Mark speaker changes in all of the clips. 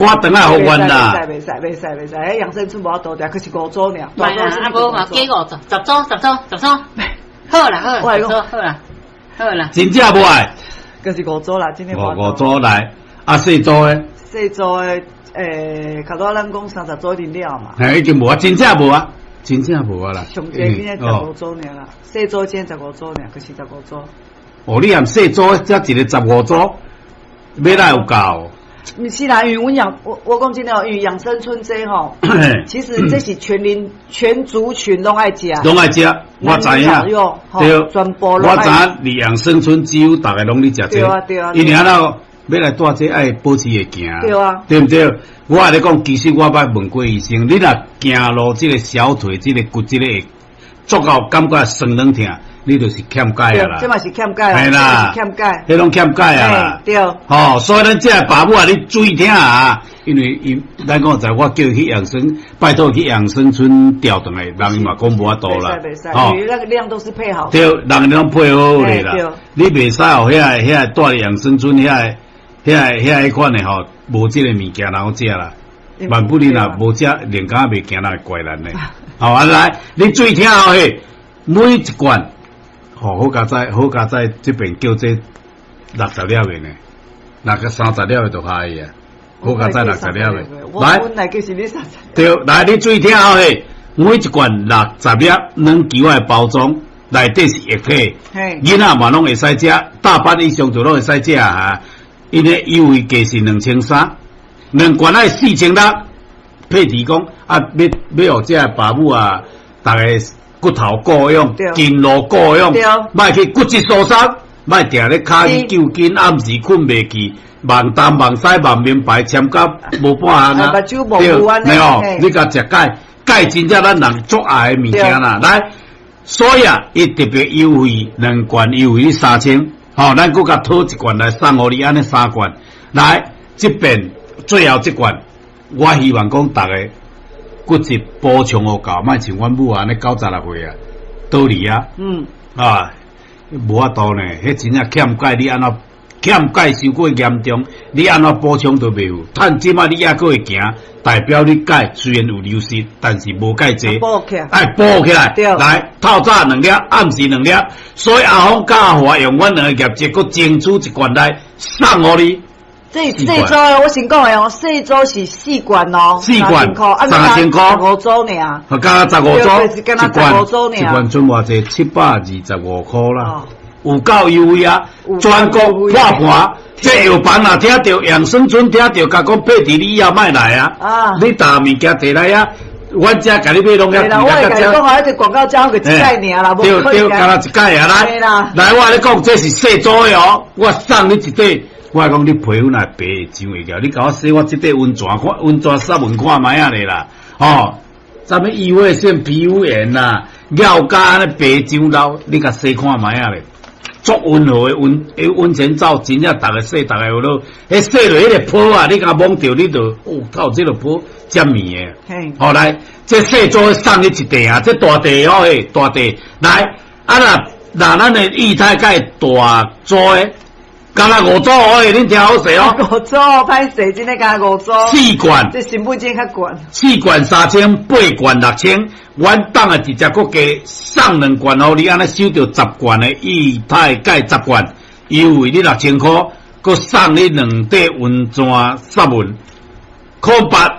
Speaker 1: 我轉來予阮啦。
Speaker 2: 袂使袂使袂使，彼養生村無法度定，可是五組爾。
Speaker 3: 莫啦，啊無嘛加五組，十組十組十組，好啦好啦，十組好啦好啦。
Speaker 1: 真正無愛？
Speaker 2: 就是五組啦，真的。
Speaker 1: 五組來，啊細組的？
Speaker 2: 細組的，較早咱講30組一定了嘛。
Speaker 1: 嘿，已經無啊，真正無啊，真正無啊啦。
Speaker 2: 上濟今日十五組爾啦，細組今十五組爾，可是十五組。
Speaker 1: 哦，你含細組才一個十五組，欲來有夠？
Speaker 2: 毋是啦，因為阮養我講真的哦，因為養生村這吼，其實這是全齡全族群攏愛食，
Speaker 1: 攏愛食，我知影，對，
Speaker 2: 全部
Speaker 1: 我知影，佇養生村只有逐个攏咧食這，
Speaker 2: 對啊對啊，
Speaker 1: 因為按怎欲來帶這愛保持會行，
Speaker 2: 對啊，
Speaker 1: 對毋對？我共你講，其實我捌問過醫生，你若行路這個小腿這個骨這個會足夠感覺酸軟疼，你就是欠鈣啊啦，
Speaker 2: 這嘛是欠鈣，
Speaker 1: 係啦，
Speaker 2: 欠鈣，
Speaker 1: 彼攏欠鈣啊啦，
Speaker 2: 對，
Speaker 1: 吼，所以咱這个爸母啊，你注意聽啊，因為伊咱講在，我叫伊去養生，拜託去養生村調轉來，人伊嘛講無法度啦，
Speaker 2: 吼，因為那個量都是配好，
Speaker 1: 對，人攏配好好咧啦，你袂使予遐遐住養生村遐遐遐彼款的吼，無這個物件人好食啦，萬不你若無食，連敢袂行，人會怪咱咧。好啊，來，你注意聽哦，嘿，每一罐。吼，好佳哉，好佳哉，這邊叫這60粒的呢，六個30粒的就可以啊。好佳哉60粒的，來，對，來，你注意聽哦，嘿，每一罐六十粒，軟球的包裝，內底是液體，囡仔嘛攏會使食，大班以上就攏會使食啊。𪜶的優惠價是2300，兩罐愛4600。佩蒂講啊，欲予這爸母啊，逐个骨頭顧養，筋路顧養，莫去骨質疏鬆，莫定咧跤揪筋，暗時睏袂去，望東望西望明白，簽甲無半項啊！對，沒有，你共食鈣，鈣真正咱人足愛的物件啦。來，所以啊，伊特別優惠，兩罐優惠3000，吼，咱閣共討一罐來送予你，按呢三罐。來，這邊最後這罐，我希望講逐个骨質補充予夠，莫像阮母按呢96歲啊，倒離啊，啊，無法度呢，彼真正欠鈣，你按怎欠鈣傷過嚴重，你按怎補充都袂有。趁這擺你猶閣會行，代表你鈣雖然有流失，但是無介濟，愛補起來。來，透早兩粒，暗時兩粒。所以阿峰佮阿華用阮兩个業績，閣爭取一罐來送予你。
Speaker 2: 這細組我先講的哦，細組是四罐哦，
Speaker 1: 四罐3000箍，
Speaker 2: 十五組爾，
Speaker 1: 敢若十五組，
Speaker 2: 一罐，
Speaker 1: 一罐賰偌濟，725塊啦，有夠優惠啊！全國破盤，這藥房若聽著養生村聽著，共講佩蒂你以後莫來啊！你逐物件提來啊，阮遮共你買攏遐貴啦。
Speaker 2: 我會共你講啊，這廣告加個一擺爾啦，
Speaker 1: 對對，敢若一擺啊！來來，我共你講，這是細組的哦，我送你一塊。我講你皮膚若白會上會個，你共我洗我這塊溫泉看溫泉殺聞看覓仔咧啦，吼！啥物異位性皮膚炎啦，尿膠按呢白上老，你共洗看覓仔咧，足溫和的溫，彼溫泉澡真正逐个洗，逐个有落，彼洗落彼个泡啊，你共摸著你就，哦，靠，這个泡遮綿的。好來，這細組送你一塊啊，這大塊哦，嘿，大塊來，啊若若咱的液態鈣大組的。敢若五組哦，恁聽好勢哦。
Speaker 2: 五組歹勢，真的敢若五組。
Speaker 1: 四罐，
Speaker 2: 這成本真較懸。
Speaker 1: 四罐3000，八罐6000。阮當啊直接閣加送兩罐予你，按呢收著十罐的液態鈣十罐，優惠你6000塊，閣送你兩塊溫泉殺文，0800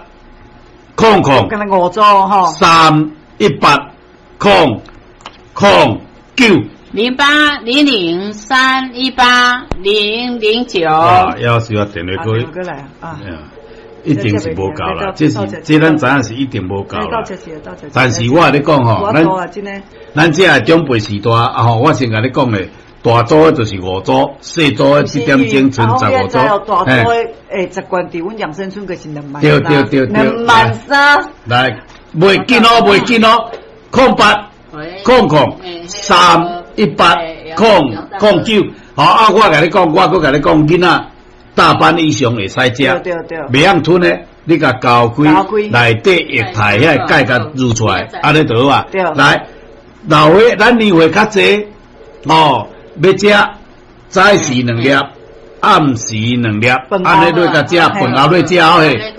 Speaker 2: 敢若五組吼。
Speaker 1: 318009。
Speaker 3: 0800318009。
Speaker 1: 哇，要是我電話過
Speaker 2: 來啊，
Speaker 1: 一定是無夠啦，這是這咱知影是一定無夠啦。但是我共你講吼，咱這個長輩時代啊吼，我先共你講咧，大組的就是五組，細組的這點鐘賰十五組。
Speaker 2: 大組的欸，十罐佇阮養生村就是2萬。
Speaker 1: 對對對對，2
Speaker 2: 萬3。
Speaker 1: 來，袂緊哦，袂緊哦，0800318009，好啊！我共你講，我閣共你講，囡仔大班以上會使食，袂曉吞的，你共攪開，內底液態遐个鈣共挢出來，按呢就好啊。來，老歲咱年歲較濟，哦，欲食早時兩粒，暗時兩粒，按呢落共食，飯後落食嘿。